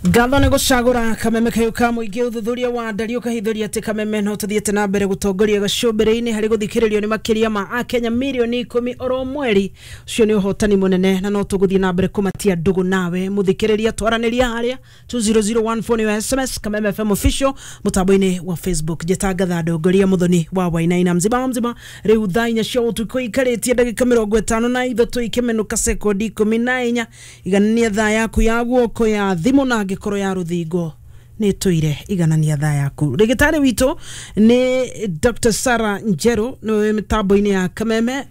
Ngatho nĩ gũcagũra Kameme kayũ ka mũingĩ. Ũthuthuria wa ndari ũkahithũria atĩ Kameme no tũthiĩte na mbere gũtongoria gacũmbĩrĩ-inĩ harĩ gũthikĩrĩrio nĩ makĩria ma akenya mirioni 10 oro mweri. Ũcio nĩ ũhotani mũnene na no tũgũthiĩ na mbere kũmatia ndũgũ nawe mũthikĩrĩria. Twaranĩria harĩa 20014 nĩyo SMS, Kameme FM official mũtambo-inĩ wa Facebook. Njĩtangatha ndongoria Mũthoni wa Wainaina mzima wa mzima. Rĩu thaa 4 cia ũtukũ ikarĩtie ndagĩka 53 ikĩmenũka sekondi 14. Iganania thaa yaku ya guoko ya thimũ na angĩkorwo ya rũthingo nĩ tũire, iganania thaa yaku. Rĩgĩtarĩ witũ nĩ Dr. Sarah Njeru, nĩwe mĩtambo-inĩ ya Kameme.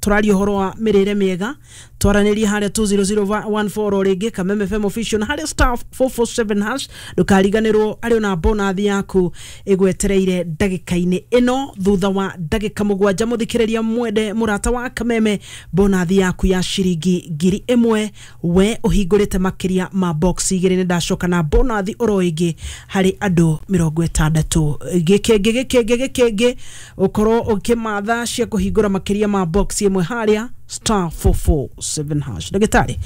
Tũraria ũhoro wa mĩrĩre mĩega. Twaranĩrie harĩa 20014 o rĩngĩ, Kameme FM official, na harĩa *447#. Ndũkariganĩrwo arĩ ona bonathi yaku ĩgwetereire ndagĩka-inĩ ĩno thutha wa ndagĩka 7. Mũthikĩrĩria mwende, mũrata wa Kameme, bonathi yaku ya ciringi 1000 we ũhingũrĩte makĩria ma box 2. Nĩ ndacoka na bonathi oro ĩngĩ harĩ andũ 60. Gĩkĩngĩ gĩkĩngĩ gĩkĩngĩ ũkorwo ũkĩmatha cia kũhingũra makĩria ma box 1 harĩa *447#. Ndagĩtarĩ,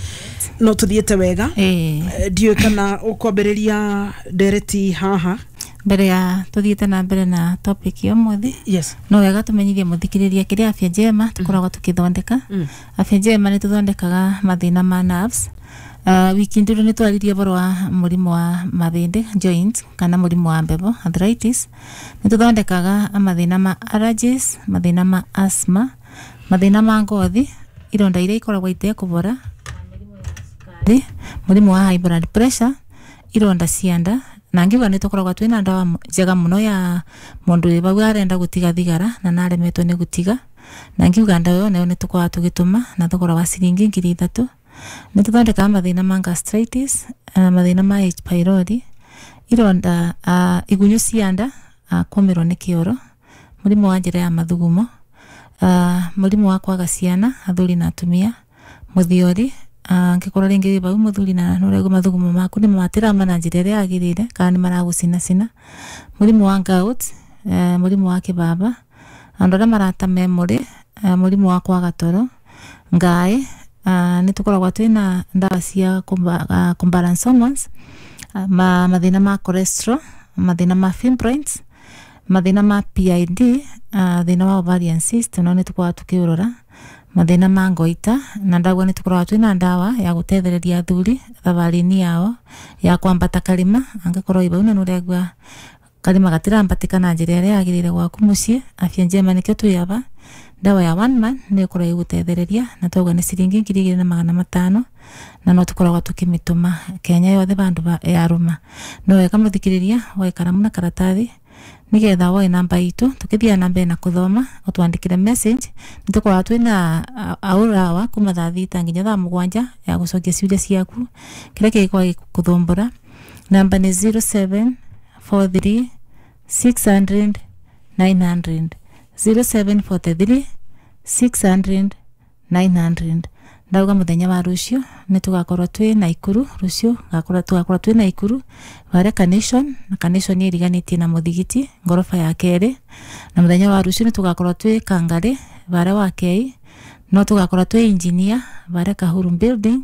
no tũthiĩte wega. Ndiũĩ kana ũkwambĩrĩria ndereti haha. Mbere ya tuthiĩte na mbere na topic ya ũmũthĩ, no wega tũmenyithie mũthikĩrĩria kĩrĩa Afya Njema tũkoragwo tũkĩthondeka. Afya Njema nĩ tũthondekaga mathĩna ma nerves. Wiki nduru nĩ twaririe ũhoro wa mũrimũ wa mahĩndĩ, joint, kana mũrimũ wa mbebo, arthritis. Nĩ tũthondekaga mathĩna ma allergies, mathĩna ma asthma, mathĩna ma ngothi, ironda iria ikoragwo itekũbora, mũrimũ wa high blood pressure, ironda cia nda, na ngiuga nĩ tũkoragwo twĩna ndawa njega mũno ya mũndũ wĩ bau arenda gũtiga thigara na naremetwo nĩ gũtiga, na ngiuga ndawa ĩyo nayo nĩ tũkoragwo tũgĩtũma na thogora wa ciringi 3000. Nĩ tũthondekaga mathĩna ma gastritis, mathĩna ma H pylori, ironda, igunyũ cia nda, kũmĩrwo nĩ kĩoro, mũrimũ wa njĩra ya mathugumo, mũrimũ wa kwaga ciana athuri na atumia, mũthiori, angĩkorwo rĩngĩ wĩ bau mũthuri na nĩũraigua mathugumo maku nĩ matirama na njĩra ĩrĩa yagĩrĩire kana nĩ maragũcinacina, mũrimũ wa gout, mũrimũ wa kĩbaba, andũ arĩa marata memory, mũrimũ wa kwaga toro, ngaĩ. Nĩ tũkoragwo twĩna ndawa cia kumbalance hormones, mathĩna ma cholesterol, mathĩna ma fibroids, mathĩna ma PID, thĩna wa ovarian cyst no nĩ tũkoragwo tũkĩũrora, mathĩna ma ngoita, na ndauga nĩ tũkoragwo twĩna ndawa ya gũtethereria athuri thabarĩ-inĩ yao ya kwambata karĩma. Angĩkorwo wĩ bau na nĩũraigua karĩma gatirambatĩka na njĩra ĩrĩa yagĩrĩire gwaku mũciĩ, Afya Njema nĩkĩo twĩ aba. Ndawa ya one man nĩ ĩkoragwo ĩgũtethereria na twauga nĩ ciringi 2500, na no tũkoragwo tũkĩmĩtũma Kenya yothe bandũ yarũma. No wega mũthikĩrĩria woe karamu na karatathi nigetha woe namba itũ tukithia na mbere na kuthoma, utwandikire message. Nĩ tũkoragwo twĩna aũrawa kuma thaa 6 nginya thaa 7 ya gũcokia ciũria ciaku kĩrĩa kĩngĩkorwo gĩgũthumbũra. Namba nĩ 0743 600 900, 0743 600 900. Ndauga muthenya wa rucio nĩ tũgakorwo twĩ Naikuru. Rucio tũgakorwo twĩ Naikuru varia Carnation, na Carnation ĩriganĩtie na mũthigiti, ngoroba ya kerĩ. Na muthenya wa rucio nĩ tũgakorwo twĩ Kangari varia wa Kei, no tũgakorwo twĩ Engineer varia Kahuru building.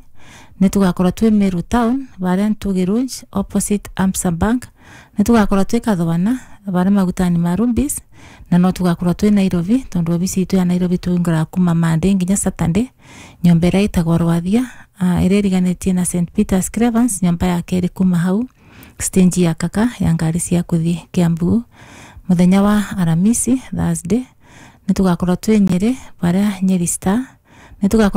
Nĩ tũgakorwo twĩ Meru town varia Ntugi Rouge opposite Amsa Bank. Nĩ tũgakorwo twĩ Kathwana varia magutani ma Rumbis, na no tũgakorwo twĩ Nairobi tondu obici itũ ya Nairobi tũingũraga kuma Monday nginya Saturday, nyũmba ĩrĩa ĩtagwo Rwathia, ĩrĩa ĩriganĩtie na St Peters Cravens, nyũmba ya kerĩ kuma hau stage ya kaka ya ngari cia kũthiĩ Kiambu. Mũthenya wa Aramisi, Thursday, nĩ tũgakorwo twĩ Nyĩrĩ varia Nyeri Star. Nĩ tũgakorwo